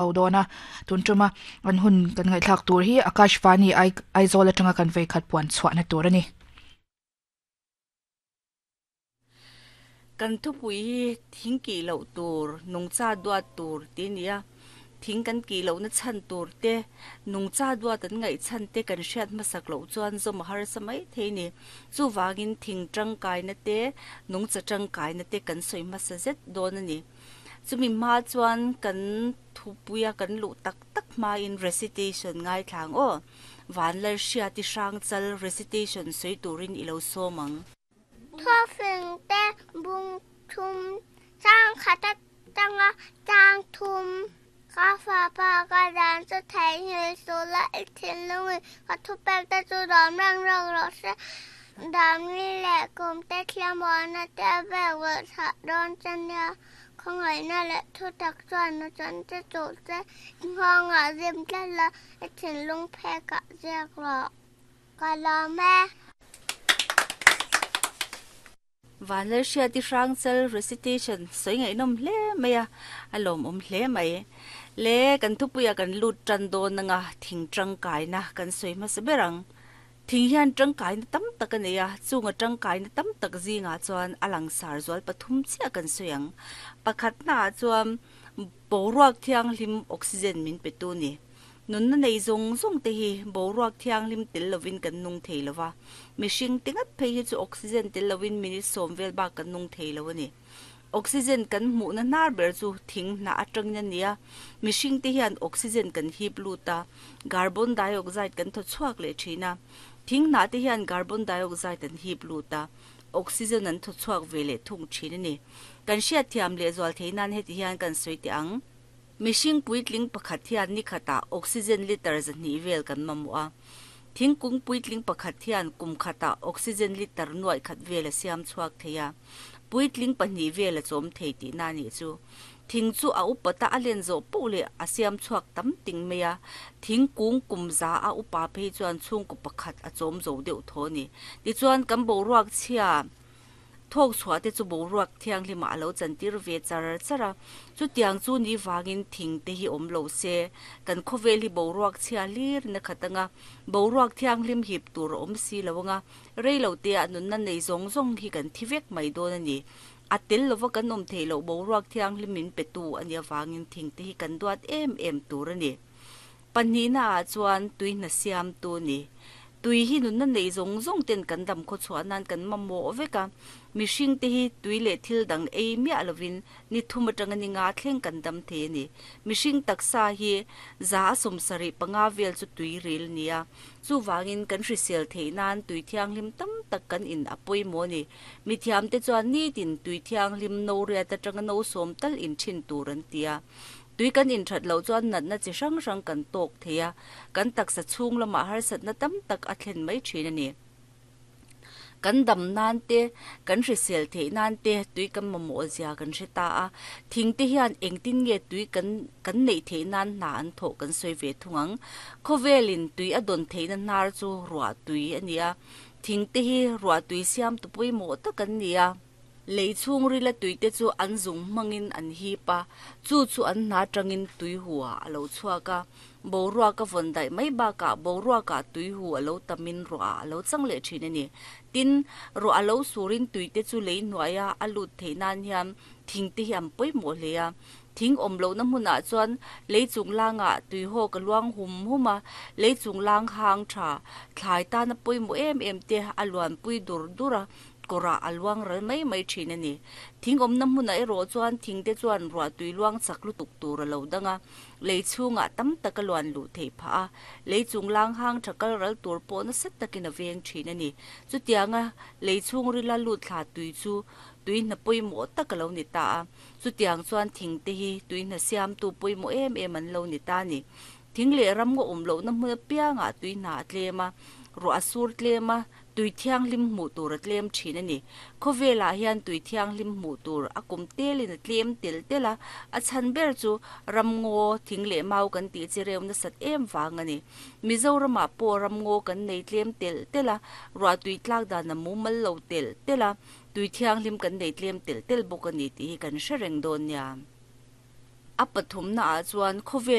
Ho dawn a, tun tuma an hun kan ngaihthlak tur hi Akashvani Aizawl atanga kan veikhat puan chhuahna tur a ni. Kan thupui hi thing kih loh tur, nungcha duat tur tih a ni a. Thing kan kih lohna chhan tur te, nungcha duat an ngaih chhan te kan hriat hmasak loh chuan zawm a harsa mai thei a ni. Chuvangin thing tangkaina te, nungcha tangkaina te kan sawi hmasa zet dawn a ni. Chumi hma chuan kan thupuia kan luh tak tak hmain recitation ngaithla ang aw. Vanlalhriati Hrangchal recitation sawi turin i lo sawm ang. Thawfing te bung thum chang khat atanga chang thum ka fapa ka dan chu theihnghilh suh la i thinlungin ka thupek te chu dawm reng reng rawh se. Damni leh kum te thliamuahna te a vek vawlh chhah dawn che nia. Khawngaihna leh thutak chuan a chan che chuh che i nghawngah zim tlat la, i thinlung phekah ziak rawh. Ka lawm e. Vanlalhriati Hrangchal recitation sawi ngaihnawm hle mai a, a lawmawm hle mai. Le kan thupuia kan lut tan dawn anga thing tangkaina kan sawi hmasa ber ang. Thing hian tangkaina tam tak a nei a, chunga tangkaina tam tak zingah chuan a langsar zual pathum chiah kan sawi ang. Pakhatnaah chuan boruak thianghlim oxygen min petu ni. Nunna nei zawng zawng te hi boruak thianghlim tel lovin kan nung thei lo va, mihring te ngat phei hi chu oxygen tel lovin minute sawm vel bak kan nung thei lo a ni. Oxygen kan hmuhna hnar ber chu thing hnah atangin a ni a, mihring te hian oxygen kan hip lut a, carbon dioxide kan thaw chhuak leh thin a. Thing hnah te hian carbon dioxide an hip lut a, oxygen an thaw chhuak ve leh thung thin a ni. Kan hriatthiam lehzual theih nan heti hian kan sawi teh ang. Mihring puitling pakhat hian ni khatah oxygen litre 200 vel kan mamawh a. Thingkung puitling pakhat hian kum khatah oxygen litre nuaih khat vel a siam chhuak thei a. Puitling pahnih vel a chawm thei tihna a nih chu. Thing chu a upata a len zawh poh leh a siam chhuak tam ting mai a. Thingkung kum za a upa phei chuan chhungkaw pakhat a chawm zo deuh tho a ni. Tichuan kan boruak chhia. Thawk chhuah te chu boruak thianghlimah a lo chantir ve char char a, chutiang chu ni vangin thing te hi awm lo se, kan khawvel hi boruak chhia hlir in a khat anga, boruak thianghlim hip tur a awm si lo anga, rei lo te ah nunna nei zawng zawng hi kan thi vek mai dawn a ni. A tel lova kan awm theih loh boruak thianghlim min petu a nih avangin thing te hi kan duat em em tur a ni. Pahnihna ah chuan tui hna siamtu a ni. Tui hi nunna nei zawng zawng ten kan dam khaw chhuah nan kan mamawh vek a. Mihring te hi tui leh thil dang ei miah lovin ni thum atanga ni nga thleng kan dam thei a ni. Mihring taksa hi 75 vel chu tui ril a ni a. Chuvangin kan hrisel theih nan tui thianghlim tam tak kan in a pawimawh a ni. Mithiam te chuan nitin tui thianghlim no riat atanga no sawm tal in thin tur an ti a. Tui kan inthat loh chuan natna chi hrang hrang kan tawk thei a, kan taksa chhung lamah harsatna tam tak a thlen mai thin a ni. Kan dam nan te, kan hrisel theih nan te tui kan mamawh zia kan hre ta a, thing te hian engtin nge tui kan kan neih theih nan hna an thawh kan sawi ve thung ang. Khawvelin tui a dawn theihna hnar chu ruah tui a ni a, thing te hi ruah tui siamtu pawimawh tak an ni a. Lei chhungrila tuite chu an zung hmangin an hip a, chu chu an hna tangin tuihu-ah a lo chhuak a. Boruak a vawn daih mai bakah boruakah tuihu a lo tamin ruahah a lo chang leh thin a ni. Tin, ruah a lo surin tuite chu lei hnuaia a lut theih nan hian thingte hi an pawimawh hle a. Thing awm lohna hmunah chuan lei chunglangah tuihawk a luang hum hum a, lei chunglang hang tha thlai tana pawimawh em em te a luanpui dur dur a. Kawrah a luang ral mai mai thin a ni. Thing awmna hmunah erawh chuan thingte chuan ruah tui luang chak lutuk tur a lo dang a, lei chhungah tam tak a luan luh theih phah a, lei chung lang hang tha kal ral tur pawh nasa takin a veng thin a ni. Chutianga lei chhung rila lut thla tui chu tui hna pawimawh tak a lo ni ta a, chutiang chuan thingte hi tui hna siamtu pawimawh em em an lo ni ta a ni. Thing leh ram ngaw awm lohna hmun apiangah tui hna a tlem a, ruah a sur tlem a, tui thianghlim hmuh tur a tlem thin a ni. Khawvelah hian tui thianghlim hmuh tur a kum telin a tlem tel tel a, a chhan ber chu ramngaw, thing leh mau kan tih chi reu nasat em vang a ni. Mizoramah pawh ramngaw kan nei tlem tel tel a, ruah tui tlak dan a mumal lo tel tel a, tui thianghlim kan nei tlem tel tel bawk a ni tih hi kan hre reng dawn nia. A pathum naah chuan khawvel.